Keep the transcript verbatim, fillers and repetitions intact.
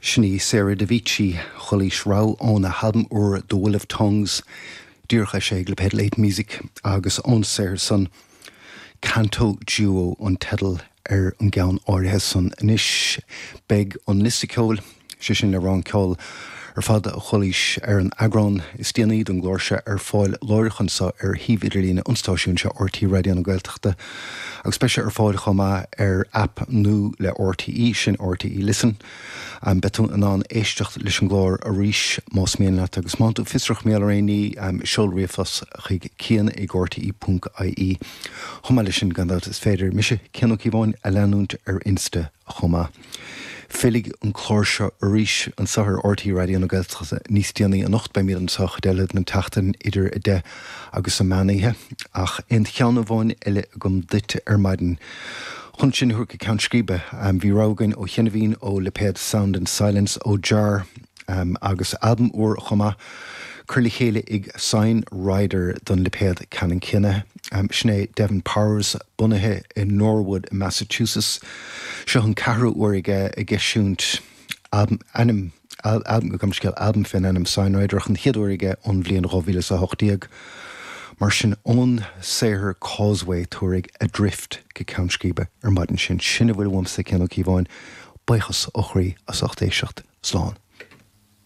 Sin í Sarah Dovicci chualaís rogha óna halbam úr The Will of Tongues díreach eisithe ag lipéad Late Music agus ón saothar san Canto Duo an teideal ar an gceann áirithe san anois beidh an liosta ceoil sé sin le rogha an ceol ar fad a chualaís ar an eagrán is déanaí den gclár seo ar fáil láithreach anseo ar shuíomh idirlín an stáisiúin seo RTÉ Raidió na Gaeltachta agus beidh sé ar fáil chomh maith ar aip nua le RTÉ sin RTÉ Listen. Um, Beidh tú in ann éisteacht leis an gclár arís más mian leat agus má tú fiosrach méal ar aon um, seol ríomhphost chuig cian ag RTÉ ponc IE. Chomh maith leis sin gan dabht is féidir mise Cian Ó Cíobháin a leanúint ar Insta chomh maith. Fillfidh an clár seo arís anseo ar RTÉ Raidió na Gaeltachta níos déanaí anocht beimid anseo eile den tseachtain idir a deich agus an meánoíche ach aon cheann amháin eile agam duit ar maidin. Chun sinn a thabhairt go ceann scríbe um, bhí rogha againn ó chinnehín ó lipéad Sound and Silence ó Jar um, agus albam úr chomh maith curtha le chéile ag Sign Rider don lipéad ceannann céanna. Um, sin é Devin Powers bunaithe in Norwood, Massachusetts. Seo an ceathrú uair aige ag eisiúint albam ainm albam go scéal albam faoin ainm Sign Rider an chéad uair aige ón bhliain dhá mhíle a hocht déag. Mar sin ón saothar Causeway tabharfaidh Adrift go ceann scríbe ar maidin sin sin a bhfuil uaimse Cian Ó Cíobháin, buíochas ó chroí as ucht éisteacht slán.